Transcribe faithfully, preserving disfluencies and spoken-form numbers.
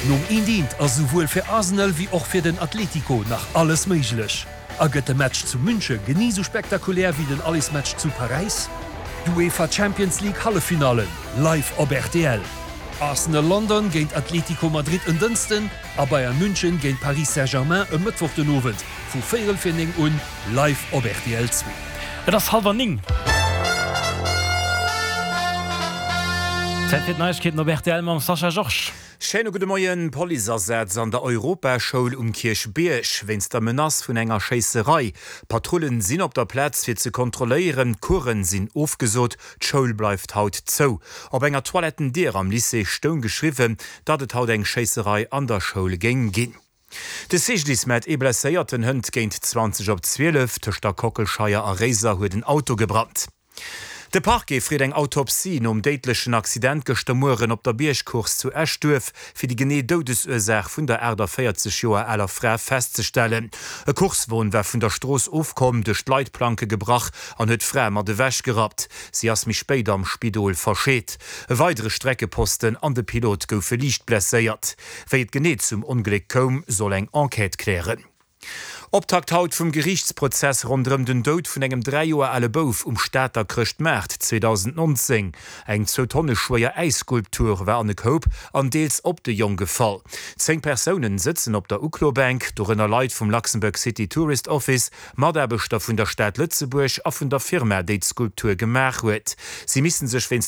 Nom eent eent ass souwuel fir Arsenal wéi och fir den Atlético nach alles méiglech. A gëtt de Match zu Münche genee sou spektakulär wéi den Allersmatch zu Paräis? D'UEFA Champions League Halleffinallen live op R T L. Arsenal London géint Atlético Madrid en Dënschden a Bayern München géint Paris Saint-Germain e Mëttwoch den Owend vu véierel vir néng un live op R T L zwee. Et ass hallwer néng. Zäit fir d'Neiegkeeten op R T L mam Sascha Georges. Schéine gudde Moien. Policeasaz an der Europaschoul um Kierchbierg wéinst der Menace vun enger Schéisserei. Patrullen sinn op der Plaz fir ze kontrolléieren, Coursen sinn ofgesot, d'Schoul bleift haut zou. Op enger Toilettendier am Lycée stoung geschriwwen, datt et haut eng Schéisserei an der Schoul géing ginn. De C G D I S mellt ee Blesséierten hënt géint zwanzeg op zwielef tëscht der Kockelscheier a Réiser huet en Auto gebrannt. De Parquet freet eng Autopsie nom déidlechen Accident gëschter Mueren op der Biergcourse zu Eschduerf, fir déi genee Doudesursaach vun der aachtavéierzeg Joer aler Fra festzestellen. E Coursewon war vun der Strooss ofkomm, duerch d'Leitplanke gebrach an huet d'Fra mat ewechgerappt. Si ass méi spéit am Spidol verscheet. E weidere Streckeposten an de Pilot goufe liicht blesséiert. Wéi et genee zum Ongléck koum, soll eng Enquête klären. Optakt haut vum Geriichtsprozess ronderëm den Doud vun engem dräi Joer ale Bouf um Stater Chrëschtmaart zweedausendnonzéng. Eng zwou Tonne schwéier Äisskulptur war an e Koup an deels op de Jong gefall. Zéng Persounen sëtzen op der Uklobänk, dorënner Leit vum Luxembourg City Tourist Office, Mataarbechter vun der Stad Lëtzebuerg a vun der Firma, déi d'Skulptur gemaach huet. Si misse sech wéinst